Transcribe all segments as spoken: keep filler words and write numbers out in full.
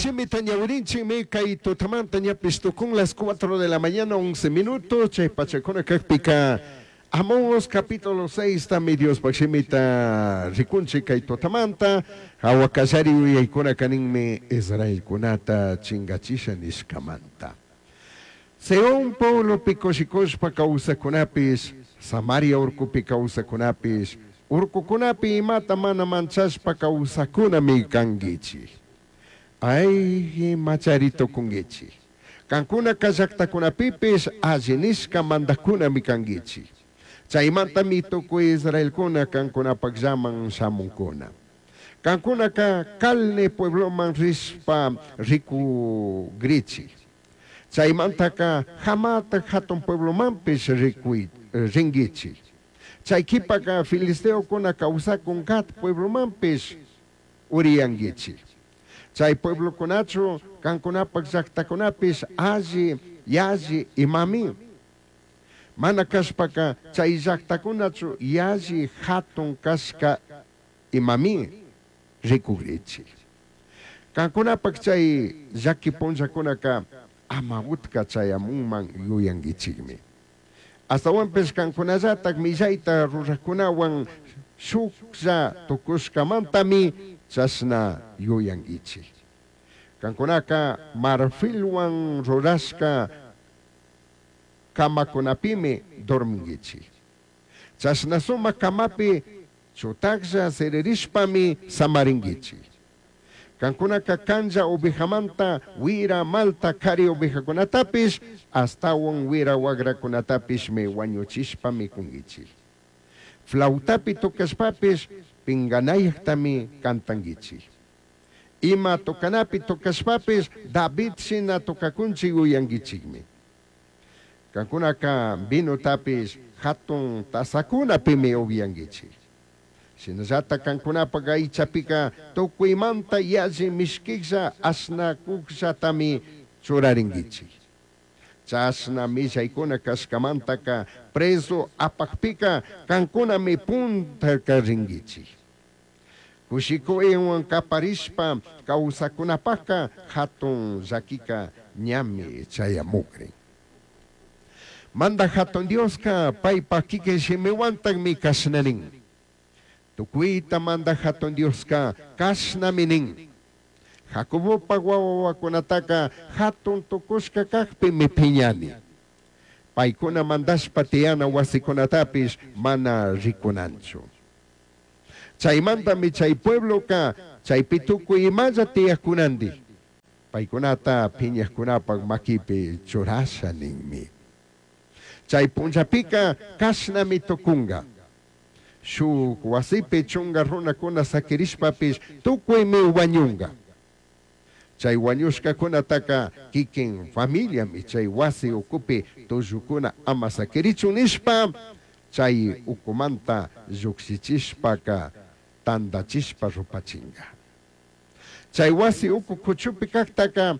Shimita ñawirinchikmi kay tutamanta ñapish tukun las cuatro de la mañana once minutos chay pachakuna kakpika Amós capítulo seis tami Diospaj shimita rikunchik kay tutamanta hawa kallari yuyaykuna kaninmi Israelkunata chingachisha nishkamanta. Seón pueblopi kushikushpa kawsakunapish, Samaria urkupi kawsakunapish, urkukunapi imata mana manchashpa kawsakunami kankichik. Ay, imachari tukunkichik. Kankunaka llaktakunapipish alli nishka mandajkunami kankichik. Chaymantami tukuy Israelkuna kankunapakllaman shamunkuna. Kankunaka Calne puebloman rishpa rikugrichik. Chaymantaka Hamat hatun pueblomanpish rikuy rinkichik. Chay qhipaka filisteokuna kawsakun Gat pueblomanpish uriyankichik. Chay pueblokunachu kankunapak llaktakunapish alli yalli imami. Mana kashpaka chay llaktakunachu yalli hatun kashka imami rikugrichik. Kankunapak chay llaki punllakunaka ama utka chayamunman yuyankichikmi. Astawanpish kankunallatak millayta rurajkunawan shuklla tukushkamantami chashna yuyankichik. Kankunaka marfilwan rurashka kamakunapimi dorminkichik. Chashna sumak kamapi chutaklla siririshpami samarinkichik. Kankunaka kanlla ovejamanta wira malta kari ovejakunatapish astawan wira wagrakunatapishmi wañuchishpa mikunkichik. Flautapi tocashpapish pinganayajtami cantankichik. Ima tocanapi tocashpapish David shina tocakunchik yuyankichikmi. Kankunaka vinotapish hatun tazakunapimi upyankichik. Shinallata kankunapak aychapika tukuymanta yalli mishkijlla ashnakujllatami churarinkichik. Chashna millaykuna kashkamantaka preso apakpika kankunami puntaka rinkichik. Kushikuywan kaparishpa kawsakunapaka hatun llakika ñami chayamukrin. Manda hatun Dioska paypak kikin shimiwantakmi kashna nin. Tukuyta manda hatun Dioska kashnami nin. Jacobopak wawakunataka hatun tukushka kakpimi piñani. Paykuna mandashpa tiyana wasikunatapish mana rikunanchu. Chaymantami chay puebloka chaypi tukuy imalla tiyajkunandik. Paykunata piñajkunapak makipi churasha ninmi. Chay punllapika kashnami tukunga. Shuk wasipi chunga runakuna sakirishpapish tukuymi wañunga. Chay wañushkakunataka kikin familiami chay wasi ukupi tullukuna ama sakirichun nishpa chay ukumanta llukshichishpaka tandachishpa rupachinga. Chay wasi uku kuchupi kaktaka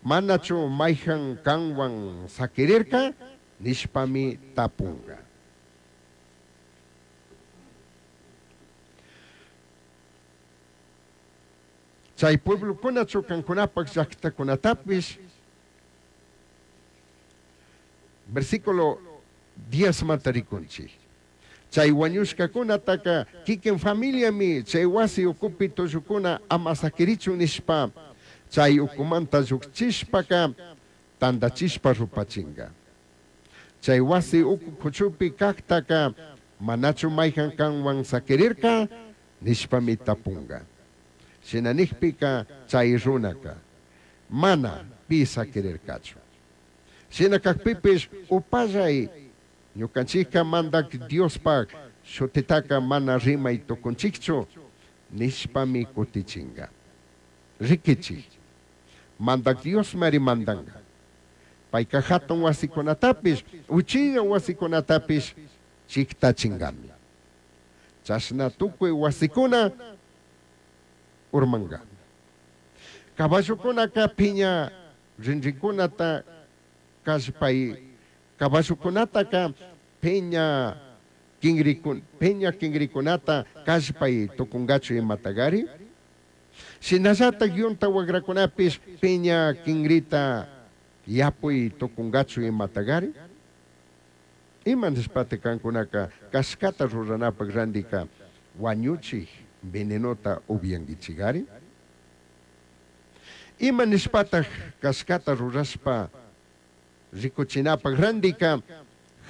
manachu mayjan kanwan sakirirka nishpami tapunga. Chay pueblokuna kankunapak llaktakunatapish versículo diez manta rikunchik. Chay wañushkakunataka kikin familiami chay wasi ukupi tullukuna ama sakirichun nishpa chay ukumanta llukchishpaka tandachishpa rupachinga. Chay wasi uku kuchupi kaktaka manachu mayjan kanwan sakirirka nishpami tapunga. Shina nikpika chay runaka mana pi sakirirkachu. Shina kakpipish upallay ñukanchikka mandak Diospak shutitaka mana rimay tukunchikchu nishpami kutichinga. Rikichik mandak Dios mari mandanga. Payka hatun wasikunatapish uchilla wasikunatapish chiktachingami. Chashna tukuy wasikuna urmanga. Caballokunaka piña rinrinkunata kallpay caballokunataka piña kingrikun piña kingrikunata kallpay tukungachu imatagari. Shinallataj yunta huagracunapish piña quingrita yapui tucungachu imatagari? Ima nishpata cancunaca cashcata ruranapaj randica huañuchij venenota upyanguichigari? Ima nishpataj cashcata rurashpa ricuchinapaj randica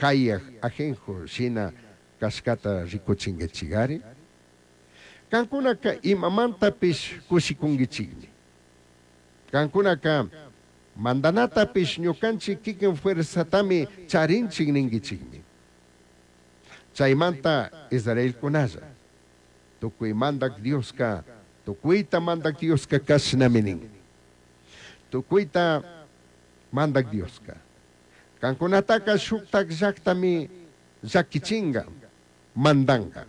jayaj ajenjo shina cashcata ricuchinguichigari? Cancunaca imamantapish cushicunguichigmi. Cancunaca mandanatapish ñucanchik kikin fuerzatami charinchik ninguichigmi. Chaimanta Israelcunalla, tucui Mandac Diosca, tucuita Mandac Diosca cashnami nin. Tucuita Mandac Diosca, cancunataca shujtaj llajtami llaquichinga, mandanga.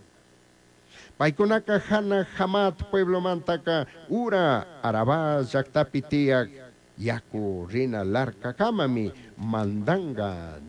Paicunaca jana Hamat pueblomantaca ura Arabá llajtapi tiyaj yacu rina larcacamami mandanga